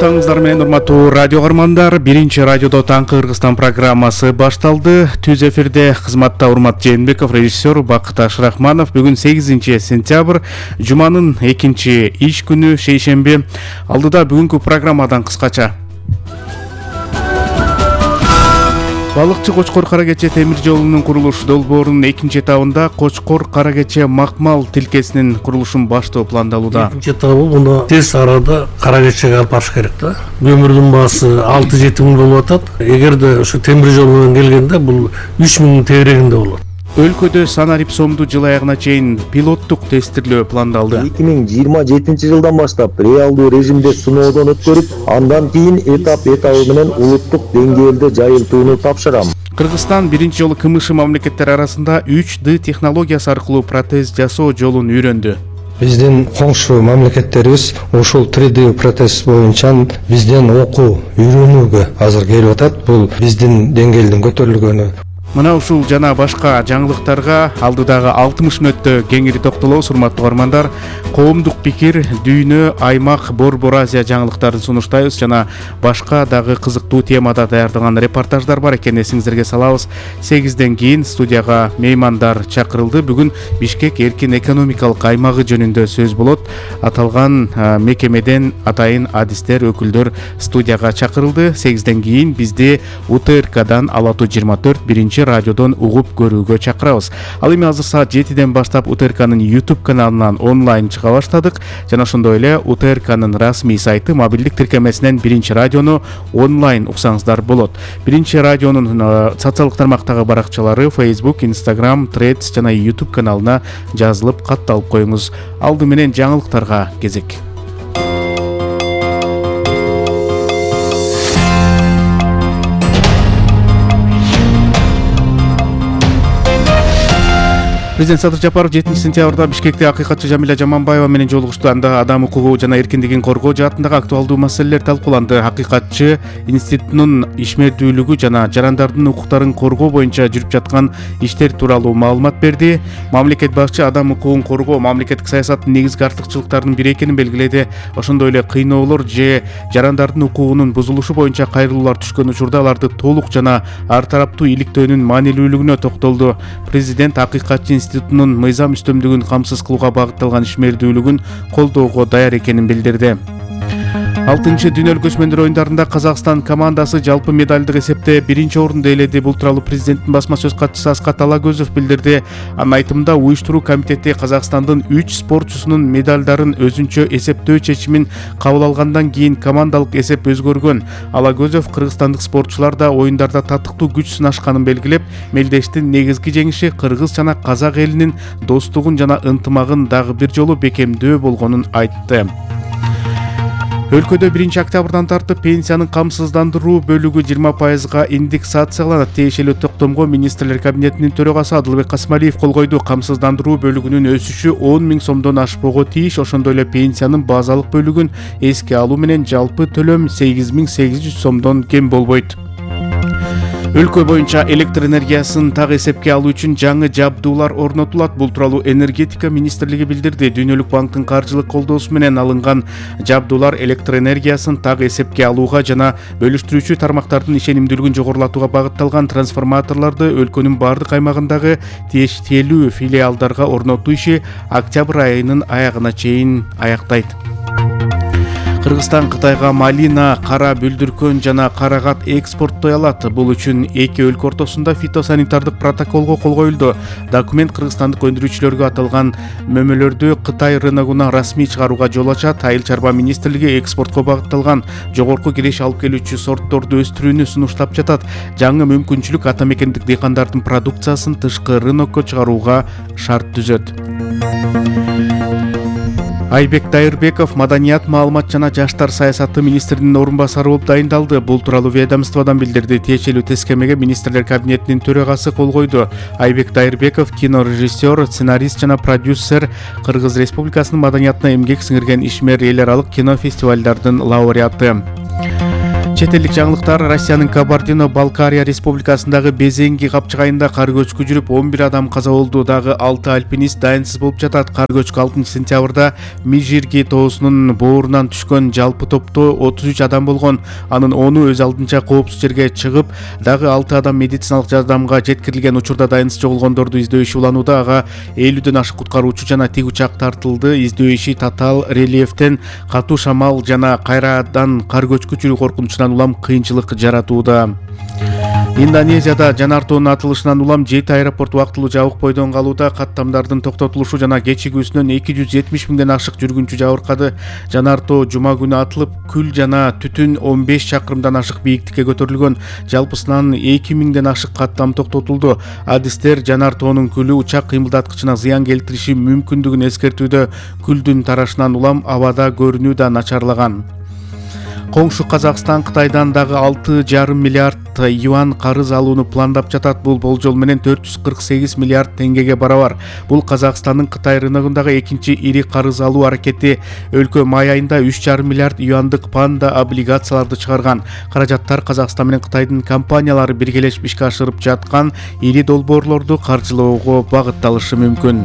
Таңыңыздар менен урматтуу радио каармандар, биринчи радиодо Таңкы Кыргызстан программасы башталды. Түз эфирде кызматта Урмат Жээнбеков, режиссер Бакыт Ашрахманов. Бүгүн 8 сентябрь, жуманын 2 иш күнү, шейшемби. Алдыда бүгүнкү программадан кыскача. Балыкчы Кочкор-Кара Кече темир жолунун курулуш долбоорунун 2-этабында Кочкор-Кара Кече Макмал тилкесинин курулушун баштоо пландалууда. 2-этабы муну тез арада Кара Кечеге алып барыш керек да. Көмүрдүн баасы 6-7 миң болуп атат. Эгерде ушу темир жол менен келгенде бул 3 миңдин тегерегинде болот. Өлкөдө санарип сомду жыл аягына чейин пилоттук тестирлөө пландалды. 2027 жылдан баштап реалдуу режимде сыноодон өткөрүп, андан кийин этап-этабы менен улуттук деңгээлде жайылтууну тапшырам. Кыргызстан биринчи жолу КМШ мамлекеттери арасында 3D технологиясы аркылуу протез жасоо жолун үйрөндү. Биздин коңшу мамлекеттерибиз ушул 3D протез боюнча бизден окуу, үйрөнүүгө азыр келип атат. Бул биздин деңгээлдин көтөрүлгөнү. Мына ушул жана башка жаңылыктарга алдыдагы 60 мүнөттө кеңири токтолобуз, урматтуу көрөрмандар. Коомдук пикир, дүйнө, аймак, Борбор Азия жаңылыктарын сунуштайбыз жана башка дагы кызыктуу темада даярдалган репортаждар бар экен, эсиңиздерге салабыз. 8ден кийин студияга меймандар чакырылды. Бүгүн Бишкек эркин экономикалык аймагы жөнүндө сөз болот. Аталган мекемеден атайын адистер, өкүлдөр студияга чакырылды. 8ден кийин бизди УТРКдан Ала Туу 24 биринчи радиодон угуп көрүүгө чакырабыз. Ал эми азыр саат 7ден баштап УТРКнын YouTube каналынан онлайн чыга баштадык. Жана ошондой эле УТРКнын расмий сайты мобилдик тиркемесинен биринчи радиону онлайн уксаңыздар болот. Биринчи радионун социалдык тармактагы баракчалары Facebook, Instagram, Threads жана YouTube каналына жазылып катталып коюңуз. Алды менен жаңылыктарга кезек. Президент Садыр Жапаров 7 сентябрда Бишкекте акыйкатчы Жамиля Жаманбаева менен жолугушту. Анда адам укугу жана эркиндигин коргоо жаатындагы актуалдуу маселелер талкууланды. Акыйкатчы институтунун ишмердүүлүгү жана жарандардын укуктарын коргоо боюнча жүрүп жаткан иштер тууралуу маалымат берди. Мамлекет башчы адам укугун коргоо мамлекеттик саясаттын негизги артыкчылыктарынын бири экенин белгиледи. Ошондой эле кыйноолор же жарандардын укугунун бузулушу боюнча кайрылуулар түшкөн учурда аларды толук жана ар тараптуу иликтөөнүн маанилүүлүгүнө токтолду. Президент акыйкатчы институтунун мыйзам үстөмдүгүн камсыз кылууга багытталган ишмердүүлүгүн колдоого даяр экенин билдирди. 6-чы дүйнөлүк көчмөндөр оюндарында Казакстан командасы жалпы медалдык эсепте биринчи орунду ээледи. Бул тууралуу президенттин басма сөз катчысы Аскат Алагөзов билдирди. Анын айтымында уюштуруу комитети Казакстандын 3 спортчусунун медалдарын өзүнчө эсептөө чечимин кабыл алгандан кийин командалык эсеп өзгөргөн. Алагөзов кыргызстандык спортчулар да оюндарда татыктуу күч сынашканын белгилеп, мелдештин негизги жеңиши кыргыз жана казак элинин достугун жана ынтымагын дагы бир жолу бекемдөө болгонун айтты. Өлкөдө 1-октябрдан тартып пенсиянын камсыздандыруу бөлүгү 20%га индексацияланат. Тиешелүү токтомго министрлер кабинетинин төрагасы Адылбек Касмалиев кол койду. Камсыздандыруу бөлүгүнүн өсүшү 10 миң сомдон ашпого тийиш. Ошондой эле пенсиянын базалык бөлүгүн эске алуу менен жалпы төлөм 8800 сомдон кем болбойт. Өлкө боюнча электр энергиясын так эсепке алуу үчүн жаңы жабдуулар орнотулат. Бул тууралуу энергетика министрлиги билдирди. Дүйнөлүк банктын каржылык колдоосу менен алынган жабдуулар электр энергиясын так эсепке алууга жана бөлүштүрүүчү тармактардын ишенимдүүлүгүн жогорулатууга багытталган трансформаторлорду өлкөнүн бардык аймагындагы тиешелүү филиалдарга орнотуу иши октябрь айынын аягына чейин аяктайт. Кыргызстан Кытайга малина, кара бүлдүркөн жана карагат экспорттой алат. Бул үчүн эки өлкө ортосунда фитосанитардык протоколго кол коюлду. Документ кыргызстандык өндүрүүчүлөргө аталган мөмөлөрдү Кытай рыногуна расмий чыгарууга жол ачат. Айыл чарба министрлиги экспортко багытталган жогорку киреш алып келүүчү сортторду өстүрүүнү сунуштап жатат. Жаңы мүмкүнчүлүк ата мекендик дыйкандардын продукциясын тышкы рынокко чыгарууга шарт түзөт. Айбек Дайырбеков маданият, маалымат жана жаштар саясаты министринин орун басары болуп дайындалды. Бул тууралуу ведомстводон билдирди. Тиешелүү тескемеге министрлер кабинетинин төрагасы кол койду. Айбек Дайырбеков кинорежиссер, сценарист жана продюсер, Кыргыз Республикасынын маданиятына эмгек сиңирген ишмер эл аралык кино фестивалдардын лауреаты. Чет элдик жаңылыктар. Россиянын Кабардино-Балкария республикасындагы Безенги капчыгайында кар көчкү жүрүп 11 адам каза болду. Дагы 6 альпинист дайынсыз болуп жатат. Кар көчкү 6-сентябрда Межирги тоосунун боорунан түшкөн. Жалпы топто 33 адам болгон. Анын 10-у өз алдынча коопсуз жерге чыгып, дагы 6 адам медициналык жардамга жеткирилген. Учурда дайынсыз жоголгондорду издөө иши уланууда. Ага 50дөн ашык куткаруучу жана тик учак тартылды. Издөө иши татаал рельефтен катуу шамал жана кайрадан кар көчкү жүрүү коркунучунан улам кыйынчылык жаратууда. Индонезияда жанар тоонун атылышынан улам 7 аэропорт убактылуу жабык бойдон калууда. Каттамдардын токтотулушу жана кечигүүсүнөн 270 миңден ашык жүргүнчү жабыркады. Жанар тоо жума күнү атылып, күл жана түтүн 15 чакырымдан ашык бийиктикке көтөрүлгөн. Жалпысынан 2 миңден ашык каттам токтотулду. Адистер жанар тоонун күлү учак кыймылдаткычына зыян келтириши мүмкүндүгүн эскертүүдө. Күлдүн тарашынан улам абада көрүнүү да начарлаган. Коңшу Казакстан Кытайдан дагы 6,5 миллиард юан карыз алууну пландап жатат. Бул болжол менен 448 миллиард теңгеге барабар. Бул Казакстандын Кытай рыногундагы экинчи ири карыз алуу аракети. Өлкө май айында 3,5 миллиард юандык панда облигацияларды чыгарган. Каражаттар Казакстан менен Кытайдын компаниялары биргелешип ишке ашырып жаткан ири долбоорлорду каржылоого багытталышы мүмкүн.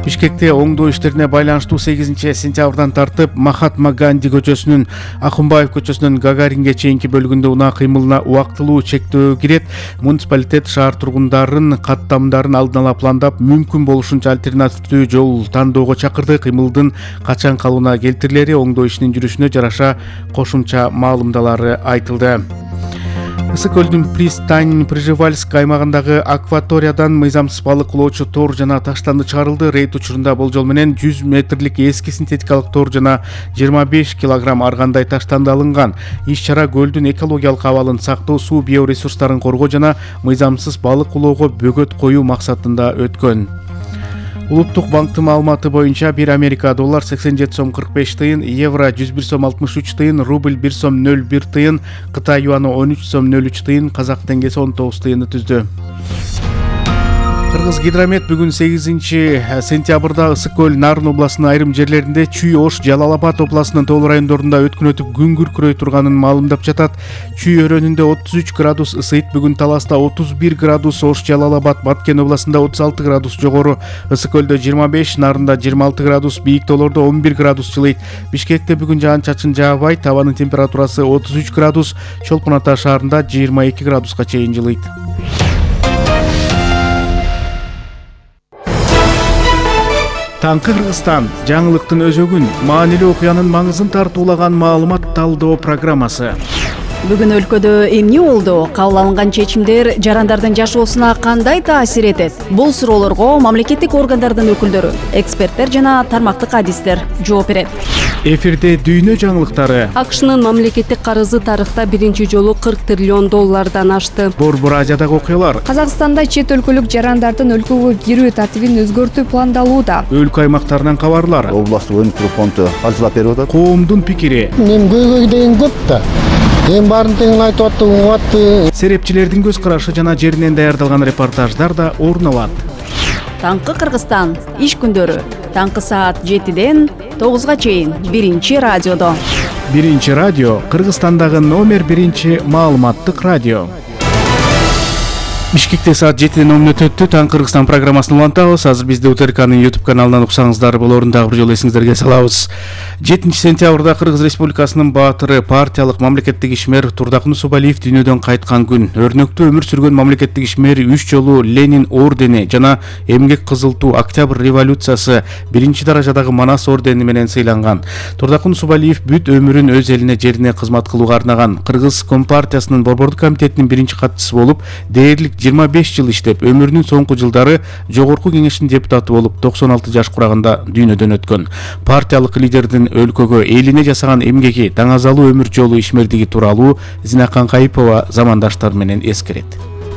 Бишкекте оңдоо иштерине байланыштуу 8-сентябрдан тартып Махатма Ганди көчөсүнүн Акунбаев көчөсүнөн Гагаринге чейинки бөлүгүндө унаа кыймылына убактылуу чектөө кирет. Муниципалитет шаар тургундарын каттамдарын алдын ала пландап, мүмкүн болушунча альтернативдүү жол тандоого чакырды. Кыймылдын качан калыбына келтирилери оңдоо ишинин жүрүшүнө жараша кошумча маалымдалары айтылды. Ысык көлдүн Пристань Прижевальск аймагындагы акваториядан мыйзамсыз балык улоочу тор жана таштанды чыгарылды. Рейд учурунда болжол менен 100 метрлик эски синтетикалык тор жана 25 килограмм аргандай таштанды алынган. Иш-чара көлдүн экологиялык абалын сактоо, суу биоресурстарын коргоо жана мыйзамсыз балык улоого бөгөт коюу максатында өткөн. Улуттук банктын маалыматы боюнча 1 Америка доллар 87 сом 45 тыйын, евро 101 сом 63 тыйын, рубль 1 сом 01 тыйын, Кытай юаны 13 сом 03 тыйын, казак теңгеси 19 тыйынды түздү. Кыргыз гидромет бүгүн 8-сентябрда Ысык көл Нарын областынын айрым жерлеринде, Чүй Ош Жалал Абад областынын тоолуу райондорунда өткөн өтүп күн күркүрөй турганын маалымдап жатат. Чүй өрөөнүндө 33 градус ысыйт, бүгүн Таласта 31 градус, Ош Жалал Абад Баткен областында 36 градус жогору, Ысык көлдө 25, Нарында 26 градус, бийик тоолордо 11 градус жылыйт. Бишкекте бүгүн жаан-чачын жаабайт, абанын температурасы 33 градус, Чолпон Ата шаарында 22 градуска чейин жылыйт. Таңкы Кыргызстан жаңылыктын өзөгүн, маанилүү окуянын маңызын тартуулаган маалымат талдоо программасы. Бүгүн өлкөдө эмне болду? Кабыл алынган чечимдер жарандардын жашоосуна кандай таасир этет? Бул суроолорго мамлекеттик органдардын өкүлдөрү, эксперттер жана тармактык адистер жооп берет. Эфирде дүйнө жаңылыктары. АКШнын мамлекеттик карызы тарыхта биринчи жолу 40 триллион доллардан ашты. Борбор Азиядагы окуялар. Казакстанда чет өлкөлүк жарандардын өлкөгө кирүү тартибин өзгөртүү пландалууда. Өлкө аймактарынан кабарлар. Областтык өнүктүрүү фонду каржылап берип атат. Коомдун пикири. Мен көйгөй деген көп да. Эң баарын тең айтып атты, угатты. Серепчилердин көз карашы жана жеринен даярдалган репортаждар да орун алат. Таңкы Кыргызстан иш күндөрү таңкы саат 7-ден 9-га чейин биринчи радиодо. Биринчи радио Кыргызстандагы номер 1 маалыматтык радио. Бишкекте саат 7-ден 10 мүнөт өттү. Таң Кыргызстан программасын улантабыз. Азыр бизди УТРКнын YouTube каналынан уксаңыздар болорун дагы бир жолу эсиңиздерге салабыз. 7-сентябрда Кыргыз Республикасынын баатыры, партиялык мамлекеттик ишмер Турдакун Усубалиев дүйнөдөн кайткан күн. Өрнөктүү өмүр сүргөн мамлекеттик ишмер 3 жолу Ленин ордени жана Эмгек кызыл туу Октябрь революциясы 1-даражадагы Манас ордени менен сыйланган. Турдакун Усубалиев бүт өмүрүн өз элине, жерине кызмат кылууга арнаган. Кыргыз Компартиясынын борбордук комитетинин биринчи катчысы болуп, дээрлик 25 жыл иштеп, өмүрүнүн соңку жылдары жогорку кеңештин депутаты болуп, 96 жаш кураганда дүйнөдөн өткөн. Партиялык лидердин өлкөгө элине жасаган эмгеги, таңазалуу өмүр жолу ишмердиги тууралуу Зинакан Кайыпова замандаштар менен эскерет.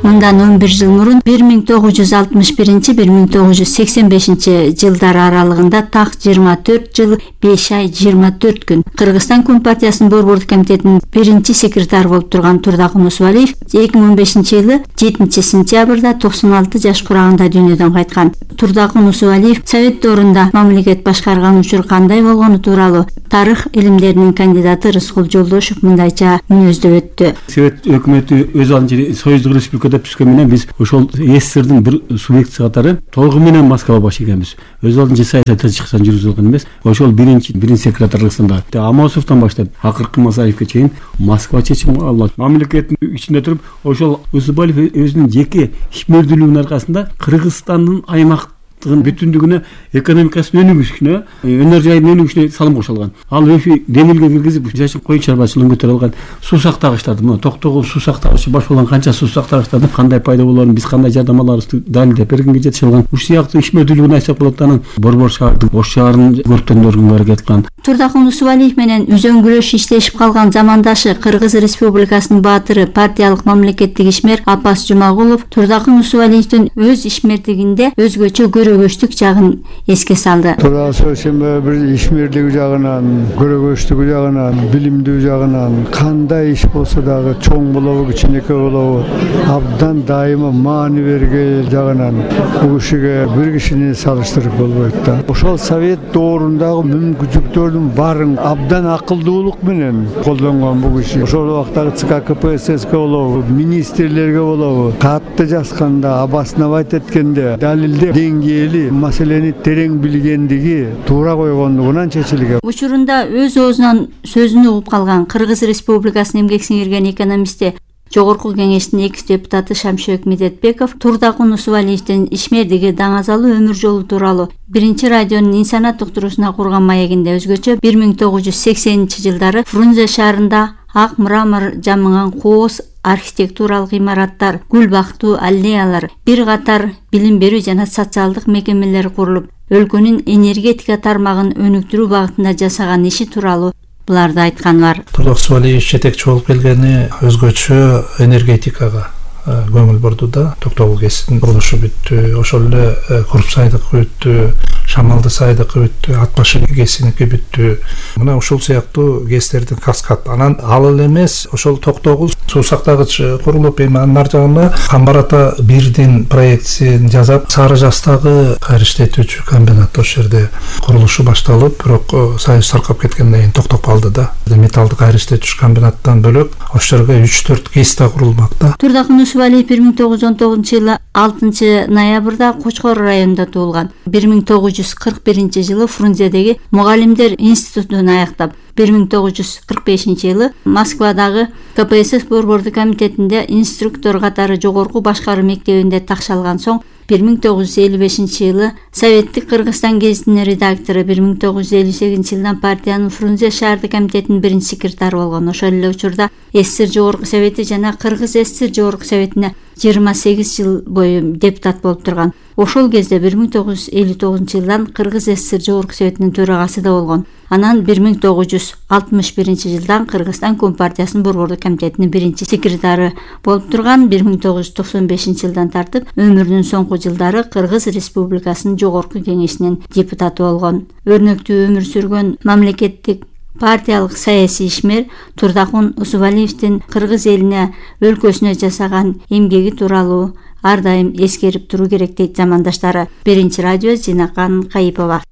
Мындан 11 жыл мурун 1961-1985 жылдар аралыгында так 24 жыл 5 ай 24 күн Кыргызстан Компартиясынын Борбордук комитетинин биринчи секретары болуп турган Турдакун Усубалиев 2015-жылы 7 сентябрда 96 жаш курагында дүйнөдөн кайткан. Турдакун Усубалиев Совет доорунда мамлекет башкарган учур кандай болгону тууралуу тарых илимдеринин кандидаты Рыскул Жолдошев мындайча мүнөздөп өттү. Совет өкмөтү өз алдынча Союздук Республикада түшкөн менен биз ошол СССРдин бир субъектиси катары толугу менен Москвага баш ийгенбиз. Өз алдынча саясат чыксан жүргүзүлгөн эмес. Ошол биринчи секретарлыгында Амосовдон баштап акыркы Масаевке чейин Москва чечим алат. Мамлекеттин ичинде туруп ошол Усубалиев өзүнүн жеке ишмердүүлүгүнүн аркасында Кыргызстандын аймактын бүтүндүгүнө экономикасынын өнүгүшүнө, өнөр жайынын өнүгүшүнө салым кошулган. Ал өшү демилге киргизип, жашыл коюн чарбачылыгын көтөрө алган. Суу сактагычтарды, мына Токтогул суу сактагычы баш болгон канча суу сактагычтарды кандай пайда болоорун, биз кандай жардам аларыбызды далилдеп бергенге жетише алган. Ушул сыяктуу ишмердүүлүгүн айтсак болот. Анан Борбор шаардын Ош шаарын көрктөндөргө аракет кылган. Турдакун Усубалиев менен үзөңгүлөш иштешип калган замандашы Кыргыз Республикасынын баатыры, партиялык мамлекеттик ишмер Апас Жумагулов Турдакун Усубалиевдин өз ишмердигинде өзгөчө көрөгөчтүк жагын эске салды. Бир ишмерлиги жагынан, көрөгөчтүгү жагынан, билимдүү жагынан кандай иш болсо дагы чоң болобу, кичинекей болобу, абдан дайыма маани берген жагынан бул кишиге бир кишини салыштырып болбойт да. Ошол Совет доорундагы мүмкүнчүлүктөрдүн баарын абдан акылдуулук менен колдонгон бул киши. Ошол убактагы ЦК КПССке болобу, министрлерге болобу, катты жазганда, обосновать эткенде, далилдеп деңгээли маселени терең билгендиги, туура койгондугунан чечилген. Учурунда өз оозунан сөзүн угуп калган Кыргыз Республикасынын эмгек сиңирген экономисти, Жогорку Кеңештин экс депутаты Шамшөк Медетбеков Турдакун Усубалиевдин ишмердиги даңазалуу өмүр жолу тууралуу биринчи радионун инсанат уктуруусуна курган маегинде өзгөчө 1980-жылдары Фрунзе шаарында ак мрамор жамыган кооз архитектуралык имараттар, гүл бактуу аллеялар, бир катар билим берүү жана социалдык мекемелер курулуп, өлкөнүн энергетика тармагын өнүктүрүү багытында жасаган иши тууралуу буларды айткан бар. Турдакун Усубалиев жетекчи болуп келгени өзгөчө энергетикага көңүл бурду да. Токтогул КЭСтин курулушу бүттү, ошол эле Курпсайдыкы бүттү, Шамалды сайдыкы бүттү, Атбашын КЭСиники бүттү. Мына ушул сыяктуу КЭСтердин каскад. Анан ал эле эмес, ошол Токтогул суу сактагыч курулуп, эми анын ар жагына Камбар ата 1дин проектисин жасап, Сары Жастагы кайра иштетүүчү комбинат ошол жерде курулушу башталып, бирок Союз таркап кеткенден кийин токтоп калды да. Металлды кайра иштетүүчү комбинаттан бөлөк ошол жерге 3-4 КЭС да курулмак да. Турдакун Усубалиев 1919-жылы 6-ноябрда Кочкор районунда туулган. 1941-жылы Фрунзедеги мугалимдер институтун аяктап, 1945-жылы Москвадагы КПСС Борбордук комитетинде инструктор катары жогорку башкаруу мектебинде такшалган соң 1955-жылы Советтик Кыргызстан гезитинин редактору, 1958-жылдан партиянын Фрунзе шаардык комитетинин биринчи секретары болгон. Ошол эле учурда СССР Жогорку Совети жана Кыргыз СССР Жогорку Советине 28 жыл бою депутат болуп турган. Ошол кезде 1959-жылдан Кыргыз СССР Жогорку Советинин төрагасы да болгон. Анан 1961-жылдан Кыргызстан Компартиясынын Борбордук комитетинин биринчи секретары болуп турган. 1995-жылдан тартып өмүрүнүн соңку жылдары Кыргыз Республикасынын Жогорку Кеңешинин депутаты болгон. Өрнөктүү өмүр сүргөн мамлекеттик партиялык саясий ишмер Турдакун Усубалиевдин Кыргыз элине, өлкөсүнө жасаган эмгеги тууралуу ар дайым эскерип туруу керек дейт замандаштары. Биринчи радио Зинакан Кайыпова.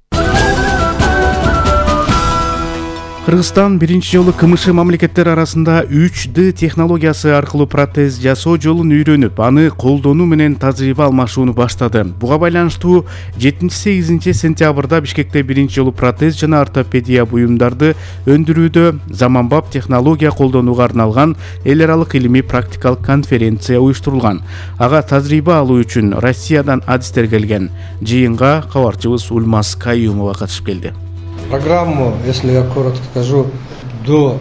Кыргызстан биринчи жолу КМШ мамлекеттер арасында 3D технологиясы аркылуу протез жасоо жолун үйрөнүп, аны колдонуу менен тажрыйба алмашууну баштады. Буга байланыштуу 7-8 сентябрда Бишкекте биринчи жолу протез жана ортопедия буюмдарды өндүрүүдө заманбап технология колдонууга арналган эл аралык илимий практикалык конференция уюштурулган. Ага тажрыйба алуу үчүн Россиядан адистер келген. Жыйынга кабарчыбыз Ульмаз Каюмова катышып келди. Программу, если я коротко скажу, до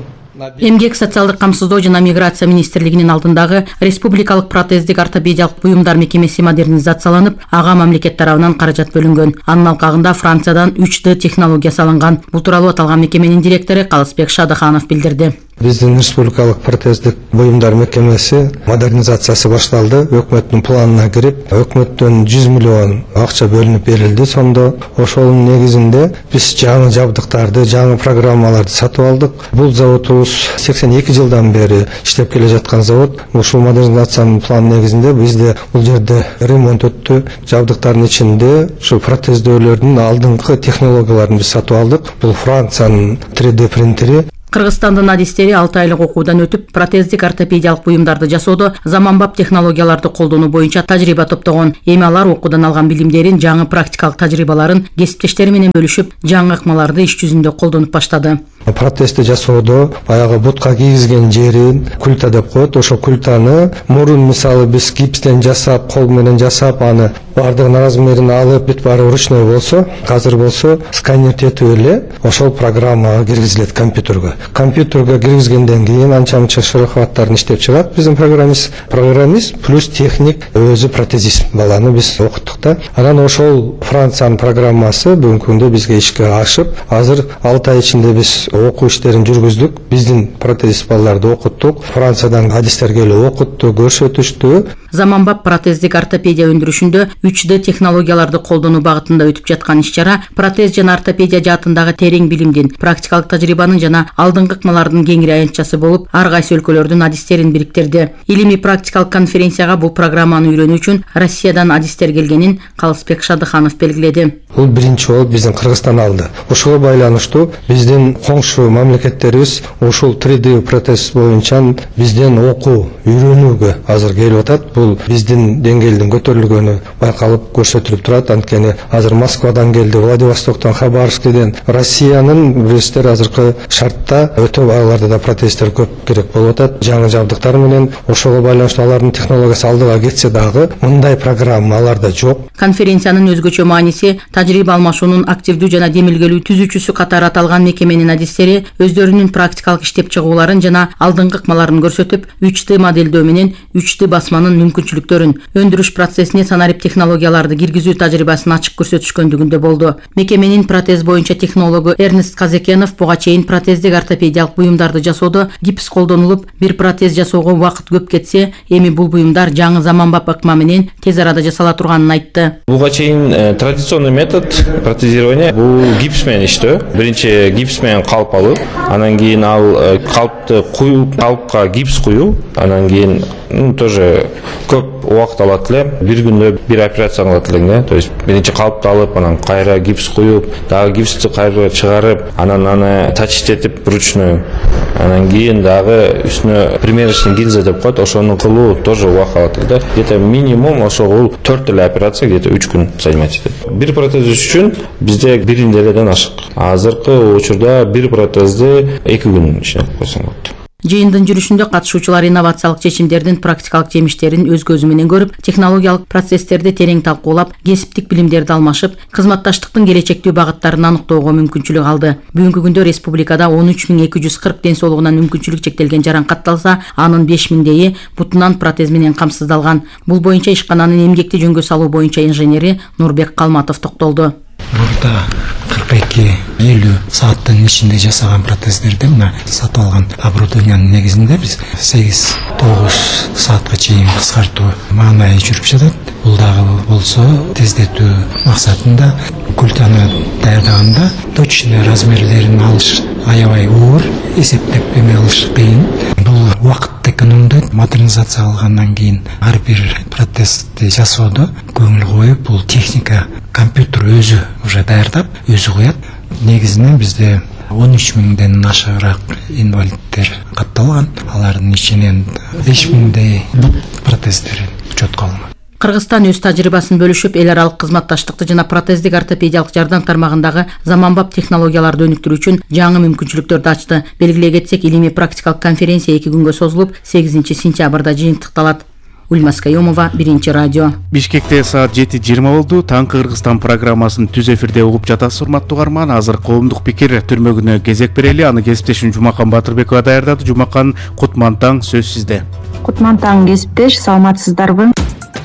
Эмгек социалдык камсыздоо жана миграция министрлигинин алдындагы республикалык протездик ортопедиялык буюмдар мекемеси модернизацияланып, ага мамлекет тарабынан каражат бөлүнгөн. Анын алкагында Франциядан 3D технология салынган. Бул тууралуу аталган мекеменин директору Калысбек Шадыханов билдирди. Биздин республикалык протездик буюмдар мекемеси модернизациясы башталды. Өкмөттүн планына кирип, өкмөттөн 100 миллион акча бөлүнүп берилди. Сонда ошонун негизинде биз жаңы жабдыктарды, жаңы программаларды сатып алдык. Бул заводубуз 82 жылдан бери иштеп келе жаткан завод. Ушул модернизациянын планы негизинде бизде бул жерде ремонт өттү. Жабдыктардын ичинде ушу протездөөлөрдүн алдыңкы технологияларын биз сатып алдык. Бул Франциянын 3D принтери. Кыргызстандын адистери 6 айлык окуудан өтүп, протездик ортопедиялык буюмдарды жасоодо заманбап технологияларды колдонуу боюнча тажрыйба топтогон. Эми алар окуудан алган билимдерин, жаңы практикалык тажрыйбаларын кесиптештери менен бөлүшүп, жаңы ыкмаларды иш жүзүндө колдонуп баштады. Протезди жасоодо баягы бутка кийгизген жерин культа деп коет. Ошо культаны мурун мисалы биз гипстен жасап, кол менен жасап, аны бардыгын размерин алып, бүт баары ручной болсо, азыр болсо сканер тетип эле ошол программага киргизилет компьютерге. Компьютерге киргизгенден кийин анча-мынча шарахаттарын иштеп чыгат биздин программист плюс техник өзү протезист баланы биз окуттук да. Анан ошол Франциянын программасы бүгүнкү күндө бизге ишке ашып, азыр 6 ай ичинде биз окуу иштерин жүргүздүк. Биздин протезист балдарды окуттук. Франциядан адистер келип окутту, көрсөтүштү. Заманбап протездик ортопедия өндүрүшүндө 3D технологияларды колдонуу багытында өтүп жаткан иш-чара протез жана ортопедия жаатындагы терең билимдин, практикалык тажрыйбанын жана алдыңкы ыкмалардын кеңири аянтчасы болуп, ар кайсы өлкөлөрдүн адистерин бириктирди. Илимий практикалык конференцияга бул программаны үйрөнүү үчүн Россиядан адистер келгенин Калысбек Шадыханов белгиледи. Бул биринчи болуп биздин Кыргызстан алды. Ошого байланыштуу биздин коңшу мамлекеттерибиз ушул 3D протез боюнча бизден окуу, үйрөнүүгө азыр келип атат. Бул биздин деңгээлдин көтөрүлгөнү байкалып көрсөтүлүп турат. Анткени азыр Москвадан келди, Владивостоктон, Хабаровскден, Россиянын билесиздер азыркы шартта өтө аларда да протездер көп керек болуп атат. Жаңы жабдыктар менен ошого байланыштуу алардын технологиясы алдыга кетсе дагы мындай программа аларда жок. Конференциянын өзгөчө мааниси тажрыйба алмашуунун активдүү жана демилгелүү түзүүчүсү катары аталган мекеменин адистери өздөрүнүн практикалык иштеп чыгууларын жана алдыңкы ыкмаларын көрсөтүп, 3D моделдөө менен 3D басманын мүмкүнчүлүктөрүн, өндүрүш процессине санарип технологияларды киргизүү тажрыйбасын ачык көрсөтүшкөндүгүндө болду. Мекеменин протез боюнча технологу Эрнест Казекенов буга чейин протездик ортопедиялык буюмдарды жасоодо гипс колдонулуп, бир протез жасоого убакыт көп кетсе, эми бул буюмдар жаңы заманбап ыкма менен тез арада жасала турганын айтты. Буга чейин традиционный метод протезирования бул гипс менен иштөө. Биринчи гипс менен калп алып, анан кийин ал калпты куюп, калпка гипс куюп, анан кийин тоже көп убакыт алат эле. Бир күндө бир операция кылат элең, то есть биринчи калпты алып, анан кайра гипс куюп, дагы гипсти кайра чыгарып, анан аны тачтетип ручной, анан кийин дагы үстүнө примерочный гильза деп коет, ошону кылуу тоже убакыт алат эле. Где-то минимум ошол 4 эле операция, где-то 3 күн займать этет. Бир протез үчүн бизде 1 неделеден ашык. Азыркы учурда бир протезди 2 күн ичинде койсоң болот. Жыйындын жүрүшүндө катышуучулар инновациялык чечимдердин практикалык жемиштерин өз көзү менен көрүп, технологиялык процесстерди терең талкуулап, кесиптик билимдерди алмашып, кызматташтыктын келечектүү багыттарын аныктоого мүмкүнчүлүк алды. Бүгүнкү күндө республикада 13240 ден соолугунан мүмкүнчүлүк чектелген жаран катталса, анын 5000 бутунан протез менен камсыздалган. Бул боюнча ишкананын эмгекти жөнгө салуу боюнча инженери Нурбек Калматов токтолду. Burada 42-50 сааттын ичинде жасаган протездерди мына сатып алган оборудованиянын негизинде биз 8-9 саатка чейин кыскартуу маанай жүрүп жатат. Бул дагы болсо тездетүү максатында культаны даярдаганда точный размерлерин алыш аябай оор, эсептеп эме алыш кыйын. Бул убакытты экономдойт. Модернизация алгандан кийин ар бир протезди жасоодо көңүл коюп, бул техника компьютер өзү уже даярдап, өзү коет. Негизинен бизде 13.000ден ашыгыраак инвалидтер катталган. Алардын ичинен 5.000 протездер учетко алынган. Кыргызстан өз тажрыйбасын бөлүшүп, эл аралык кызматташтыкты жана протездик ортопедиялык жардам тармагындагы заманбап технологияларды өнүктүрүү үчүн жаңы мүмкүнчүлүктөрдү ачты. Белгилей кетсек, илимий практикалык конференция 2 күнгө созулуп, 8-сентябрда жыйынтыкталат. Ульмас Каюмова, Биринчи радио. Бишкекте саат 7:20 болду. Таңкы Кыргызстан программасын түз эфирде угуп жатасыз, урматтуу угарман. Азыр коомдук пикир түрмөгүнө кезек берели. Аны кесиптешим Жумакан Батырбекова даярдады. Жумакан, кутман таң, сөз сизде. Кутман таң, кесиптеш, саламатсыздарбы?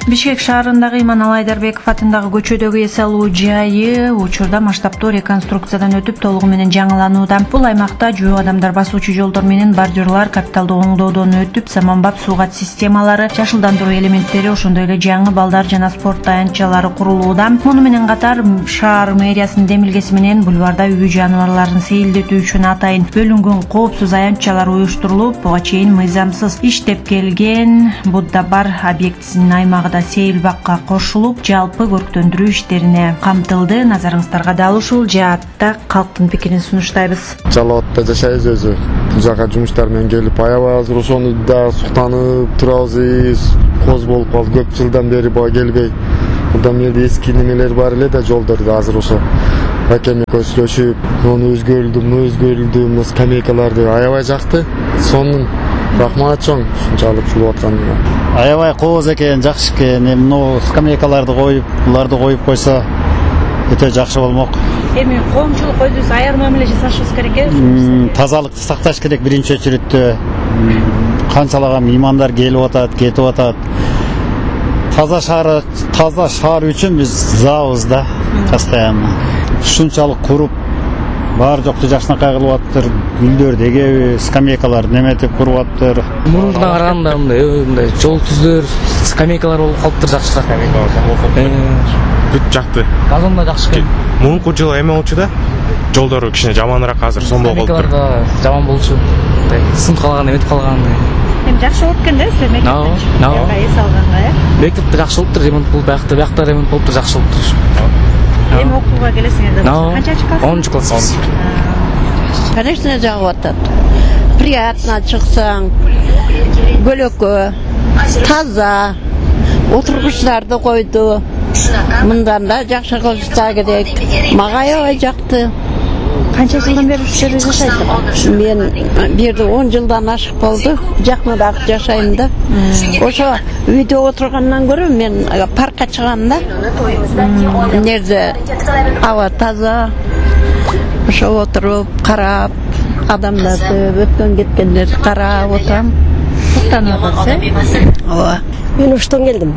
Бишкек шаарындагы Иманалы Айдарбеков атындагы көчөдөгү эс алуу жайы учурда масштабтуу реконструкциядан өтүп толугу менен жаңыланууда. Бул аймакта жөө адамдар басуучу жолдор менен бордюрлар капиталдуу оңдоодон өтүп, заманбап суугат системалары, жашылдандыруу элементтери, ошондой эле жаңы балдар жана спорт таянчалары курулууда. Муну менен катар шаар мэриясынын демилгеси менен бульварда үй жаныбарларын сейилдетүү үчүн атайын бөлүнгөн коопсуз аянтчалар уюштурулуп, буга чейин мыйзамсыз иштеп келген Будда бар объектисинин аймагы да сейил бакка кошулуп, жалпы көрктөндүрүү иштерине камтылды. Назарыңыздарга дал ушул жаатта калктын пикирин сунуштайбыз. Жалал абадта жашайбыз өзү. Бул жака жумуштар менен келип, аябай азыр ошону да суктанып турабыз. Коз болуп калды, көп жылдан бери бага келбей. Мындан жерде эски немелер бар эле да, жолдордо азыр ошо акем көзлөшүп, ону өзгөрүлдү, мына скамейкаларды аябай жакты. Сонун рахмат чоң ушунчалык чулуп атканына. Аябай кооз экен, жакшы экен. Мына скамейкаларды коюп, буларды коюп койсо өтө жакшы болмок. Эми коомчулук өзүбүз аяр мамиле жасашыбыз керек э? Тазалыкты сакташ керек биринчи очередте. Канчалаган меймандар келип атат, кетип атат. Таза шаар үчүн биз забыз да, постоянно. Ушунчалык куруп, баары жокту жакшынакай кылып атыптыр. Гүлдөр дегеби, скамейкалар неметип куруп атыптыр. Мурундан караганда мындай жол түздөр, скамейкалар болуп калыптыр жакшыраак. Бүт жакты. Багым да жакшы экен. Мурунку жылы эме болчу да, жолдору кичине жаманыраак азыр, сонун болуп калыптыр. Скамейкалар да жаман болчу. Сынып калган, эметип калган. Эми жакшы болуп экен да, силер мектепте эс алганга, э? Мектепте жакшы болуптур, ремонт болуп, биякта ремонт болуптур, жакшы болуптур. Эми окууга келесиңер да, канчанчы класс? 10 класс. Конечно, жагып атат. Приятно чыксаң, көлөкө, таза, отургучтарды койду. Мындан да жакшы кылышса керек. Мага аябай жакты. Канча жылдан бери ушул жерде жашайсыз? Мен бу жерде 10 жылдан ашык болду. Жакыныраак жашайм да. Ошо үйдө отургандан көрө мен паркка чыгам да. Нерде аба таза. Ошо отуруп, карап, адамдарды, өткөн кеткендерди карап отурам. Суктанып атасыз, э? Ооба. Мен уштан келдим.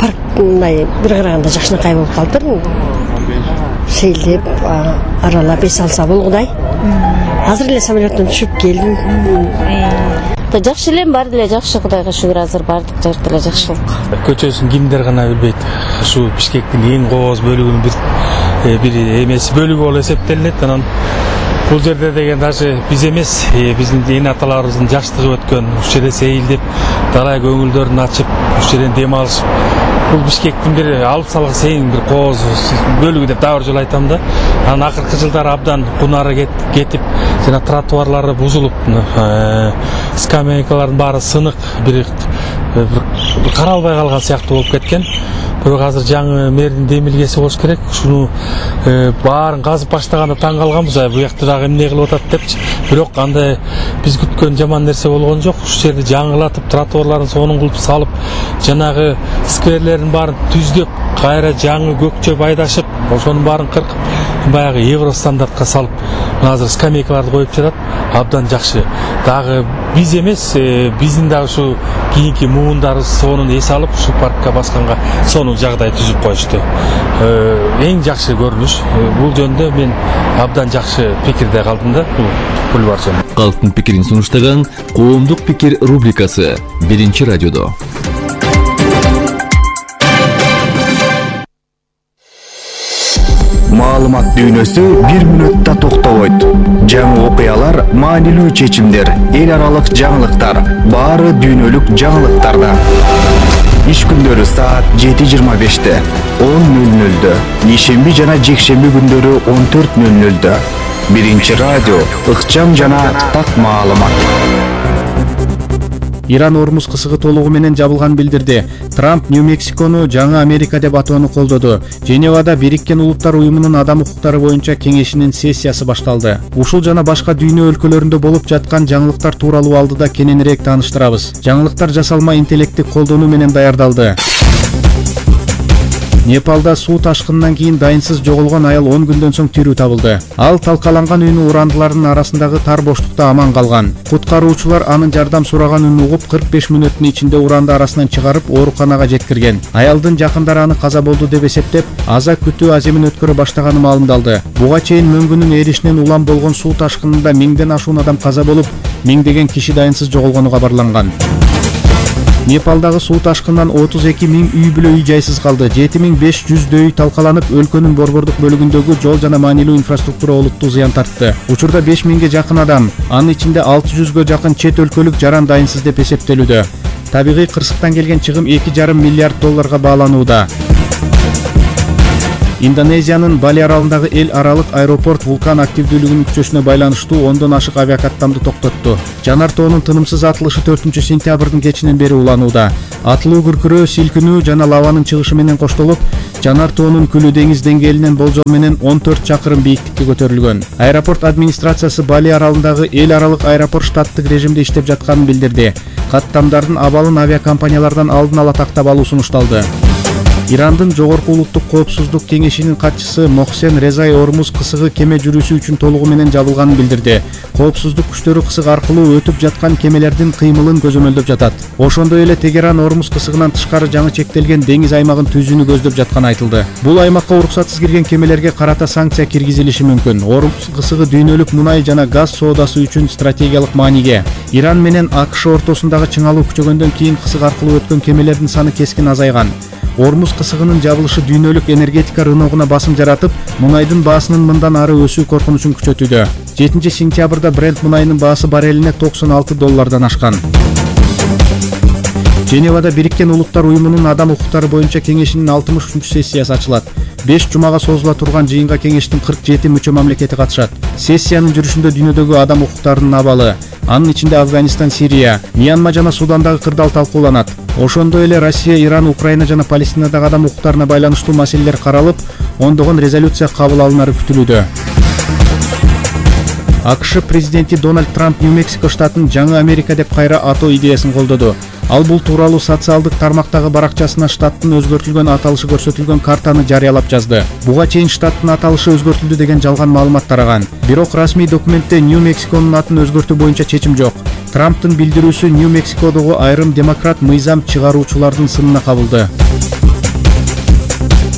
Парк мындай бир караганда жакшынакай болуп калыптыр. Сейилдеп, аралап эс алса болгудай. Азыр эле самолеттон түшүп келдим. Жакшы эле, баары деле жакшы, Кудайга шүгүр, азыр баардык жакта эле жакшылык. Көчөсүн кимдер гана билбейт. Ушу Бишкектин эң кооз бөлүгүнүн бир эмеси бөлүгү болуп эсептелет. Анан бул жерде деген даже биз эмес, биздин эне аталарыбыздын жаштыгы өткөн, ушул жерде сейилдеп, далай көңүлдөрүн ачып, ушул жерден дем алышып, бул Бишкектин бир алып салгы эң бир кооз бөлүгү деп дагы бир жолу айтам да. Анан акыркы жылдары абдан кунары кетип, жана тротуарлары бузулуп, скамейкалардын баары сынык, бир каралбай калган сыяктуу болуп кеткен. Бирок азыр жаңы мэрдин демилгеси болуш керек. Ушуну баарын казып баштаганда таң калганбыз, бу жакта дагы эмне кылып атат депчи. Бирок андай биз күткөн жаман нерсе болгон жок. Ушул жерди жаңылатып, тротуарларын сонун кылып салып, жанагы скверлердин баарын түздөп, кайра жаңы көкчөп айдашып, ошонун баарын кыркып, баягы евро стандартка салып, азыр скамейкаларды коюп жатат. Абдан жакшы. Дагы биз эмес, биздин дагы ушу кийинки муундарыбыз сонун эс алып, ушу паркка басканга сонун жагдай түзүп коюшту. Эң жакшы көрүнүш. Бул жөндө мен абдан жакшы пикирде калдым да, бул бульвар жөнүндө. Калктын пикирин сунуштаган Коомдук пикир рубрикасы биринчи радиодо. Маалымат дүйнөсү 1 мүнөттө токтобойт. Жаңы окуялар, маанилүү чечимдер, эл аралык жаңылыктар, баары дүйнөлүк жаңылыктарда. Иш күндөрү саат 7:25, 10:00, ишемби жана жекшемби күндөрү 14:00. Биринчи радио, ыкчам жана так маалымат. Иран Ормуз кысыгы толугу менен жабылганын билдирди. Трамп Нью-Мексикону жаңы Америка деп атоону колдоду. Женевада Бириккен Улуттар уюмунун адам укуктары боюнча кеңешинин сессиясы башталды. Ушул жана башка дүйнө өлкөлөрүндө болуп жаткан жаңылыктар тууралуу алдыда кененирээк тааныштырабыз. Жаңылыктар жасалма интеллектти колдонуу менен даярдалды. Непалда суу ташкынынан кийин дайынсыз жоголгон аял 10 күндөн соң тирүү табылды. Ал талкаланган үйүнүн урандыларынын арасындагы тар боштукта аман калган. Куткаруучулар анын жардам сураган үнүн угуп 45 мүнөттүн ичинде уранды арасынан чыгарып ооруканага жеткирген. Аялдын жакындары аны каза болду деп эсептеп, аза күтүү аземин өткөрө баштаганы маалымдалды. Буга чейин мөңгүнүн эришинен улам болгон суу ташкынында 1000ден ашуун адам каза болуп, 1000деген киши дайынсыз жоголгону кабарланган. Непалдагы суу ташкынынан 32 000 үй бүлө үй жайсыз калды. 7500 үй талкаланып, өлкөнүн борбордук бөлүгүндөгү жол жана маанилүү инфраструктура олуттуу зыян тартты. Учурда 5000ге жакын адам, анын ичинде 600гө жакын чет өлкөлүк жаран дайынсыз деп эсептелүүдө. Табигый кырсыктан келген чыгым $2,5 миллиард бааланууда. Индонезиянын Бали аралындагы эл аралык аэропорт вулкан активдүүлүгүнүн күчөсүнө байланыштуу 10дон ашык авиакаттамды токтотту. Жанар тоонун тынымсыз атылышы 4-сентябрдын кечинен бери уланууда. Атылуу күркүрөө, силкинүү жана лаванын чыгышы менен коштолуп, жанар тоонун күлү деңиз деңгээлинен болжол менен 14 чакырым бийиктикке көтөрүлгөн. Аэропорт администрациясы Бали аралындагы эл аралык аэропорт штаттык режимде иштеп жатканын билдирди. Каттамдардын абалын авиакомпаниялардан алдын ала тактап алуу сунушталды. Ирандын Жогорку улуттук коопсуздук кеңешинин катчысы Мохсен Резай Ормуз кысыгы кеме жүрүүсү үчүн толугу менен жабылганын билдирди. Коопсуздук күчтөрү кысык аркылуу өтүп жаткан кемелердин кыймылын көзөмөлдөп жатат. Ошондой эле Тегеран Ормуз кысыгынан тышкары жаңы чектелген деңиз аймагын түзүүнү көздөп жатканы айтылды. Бул аймакка уруксатсыз кирген кемелерге карата санкция киргизилиши мүмкүн. Ормуз кысыгы дүйнөлүк мунай жана газ соодасы үчүн стратегиялык мааниге. Иран менен АКШ ортосундагы чыңалуу күчөгөндөн кийин кысык аркылуу өткөн кемелердин саны кескин азайган. Ормуз кысыгынын жабылышы дүйнөлүк энергетика рыногуна басым жаратып, мунайдын баасынын мындан ары өсүү коркунучун күчөтүүдө. 7-сентябрда Brent мунайынын баасы баррелине $96 ашкан. Женевада Бириккен Улуттар уюмунун адам укуктары боюнча кеңешинин 63-сессиясы ачылат. 5 жумага созула турган жыйынга кеңештин 47 мүчө мамлекети катышат. Сессиянын жүрүшүндө дүйнөдөгү адам укуктарынын абалы, анын ичинде Афганистан, Сирия, Мьянма жана Судандагы кырдаал талкууланат. Ошондой эле Россия, Иран, Украина жана Палестинадагы адам укуктарына байланыштуу маселелер каралып, ондогон резолюция кабыл алынары күтүлүүдө. АКШ президенти Дональд Трамп Нью-Мексико штатын жаңы Америка деп кайра атоо идеясын колдоду. Ал бул тууралуу социалдык тармактагы баракчасына штаттын өзгөртүлгөн аталышы көрсөтүлгөн картаны жарыялап жазды. Буга чейин штаттын аталышы өзгөртүлдү деген жалган маалымат тараган. Бирок расмий документте Нью-Мексиконун атын өзгөртүү боюнча чечим жок. Трамптын билдирүүсү Нью-Мексикодогу айрым демократ мыйзам чыгаруучулардын сынына кабылды.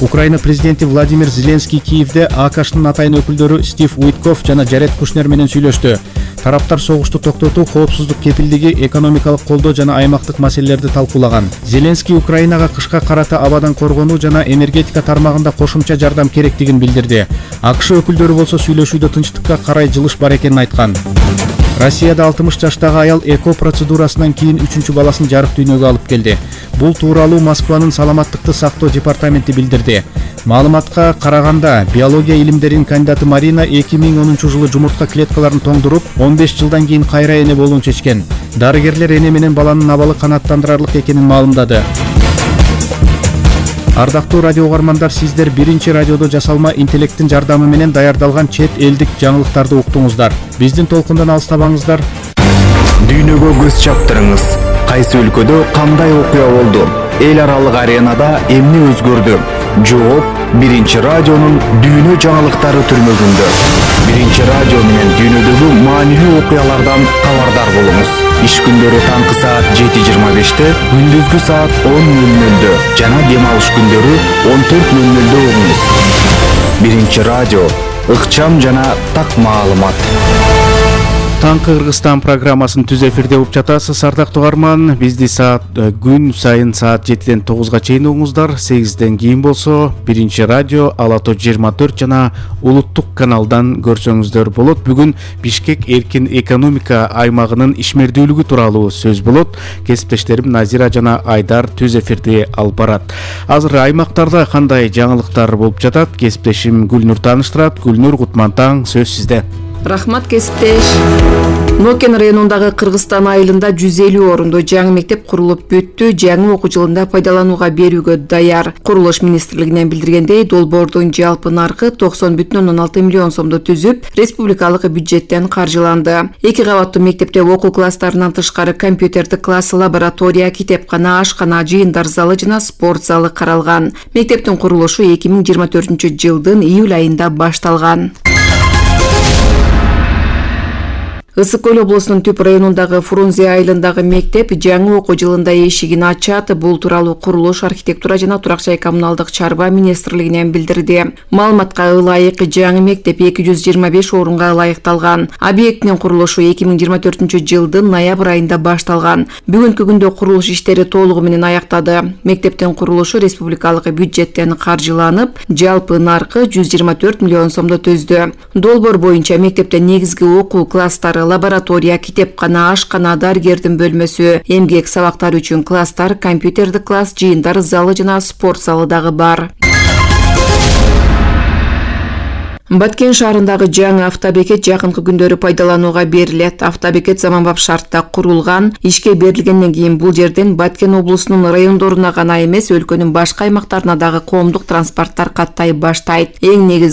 Украина президенти Владимир Зеленский Киевде АКШнын атайын өкүлдөрү Стив Уитков жана Джаред Кушнер менен сүйлөштү. Тараптар согушту токтотуу, коопсуздук кепилдиги, экономикалык колдоо жана аймактык маселелерди талкуулаган. Зеленский Украинага кышка карата абадан коргонуу жана энергетика тармагында кошумча жардам керектигин билдирди. АКШ өкүлдөрү болсо сүйлөшүүдө тынчтыкка карай жылыш бар экенин айткан. Россияда 60 жаштагы аял эко процедурасынан кийин 3-чү баласын жарык дүйнөгө алып келди. Бул тууралуу Москванын саламаттыкты сактоо департаменти билдирди. Маалыматка караганда, биология илимдеринин кандидаты Марина 2010 жылы жумуртка клеткаларын тоңдуруп, 15 жылдан кийин кайра эне болууну чечкен. Дарыгерлер эне менен баланын абалы канааттандырарлык экенин маалымдады. Ардактуу радио угармандар, сиздер биринчи радиодо жасалма интеллекттин жардамы менен даярдалган чет элдик жаңылыктарды уктуңуздар. Биздин толкундан алыстабаңыздар. Дүйнөгө көз чаптырыңыз. Кайсы өлкөдө кандай окуя болду? Эл аралык аренада эмне өзгөрдү? Жооп биринчи радионун дүйнө жаңылыктары түрмөгүндө. Биринчи радио менен дүйнөдөгү маанилүү окуялардан кабардар болуңуз. Иш күндөрү таңкы саат 7:25-те, күндүзгү саат 10:00-дө жана дем алыш күндөрү 14:00-дө угуңуз. Биринчи радио, ыкчам жана так маалымат. Таңкы Кыргызстан программасын түз эфирде угуп жатасыз, ардактуу угарман. Бизди күн сайын саат 7-ден 9-га чейин угуңуздар. 8-ден кийин болсо биринчи радио Ала Тоо 24 жана улуттук каналдан көрсөңүздөр болот. Бүгүн Бишкек эркин экономика аймагынын ишмердүүлүгү тууралуу сөз болот. Кесиптештерим Назира жана Айдар түз эфирди алып барат. Азыр аймактарда кандай жаңылыктар болуп жатат? Кесиптешим Гүлнур тааныштырат. Гүлнур, кутман таң, сөз сизде. Рахмат кесиптеш. Нокен районундагы Кыргызстан айылында 150 орунду жаңы мектеп курулуп бүттү, жаңы окуу жылында пайдаланууга берүүгө даяр. Курулуш министрлигинен билдиргендей, долбоордун жалпы наркы 90,6 миллион сомду түзүп, республикалык бюджеттен каржыланды. 2 кабаттуу мектепте окуу класстарынан тышкары компьютердик класс, лаборатория, китепкана, ашкана, жыйындар залы жана спорт залы каралган. Мектептин курулушу 2024-жылдын июль айында башталган. Ысык Көл облусунун Түп районундагы Фрунзе айылындагы мектеп жаңы окуу жылында эшигин ачат. Бул тууралуу курулуш, архитектура жана турак жай коммуналдык чарба министрлигинен билдирди. Маалыматка ылайык жаңы мектеп 225 орунга ылайыкталган. Объекттин курулушу 2024-жылдын ноябрь айында башталган. Бүгүнкү күндө курулуш иштери толугу менен аяктады. Мектептин курулушу республикалык бюджеттен каржыланып, жалпы наркы 124 миллион сомду түздү. Долбоор боюнча мектепте негизги окуу класстары, лаборатория, китепкана, ашкана, дарыгердин бөлмөсү, эмгек сабактары үчүн класстар, компьютердик класс, жыйындар залы жана спорт залы дагы бар. Баткен шаарындагы жаңы автобекет жакынкы күндөрү пайдаланууга берилет. Автобекет заманбап шартта курулган. Ишке берилгенден кийин бул жерден Баткен облусунун райондоруна гана эмес, өлкөнүн башка аймактарына дагы коомдук транспорттор каттай баштайт. Эң негизги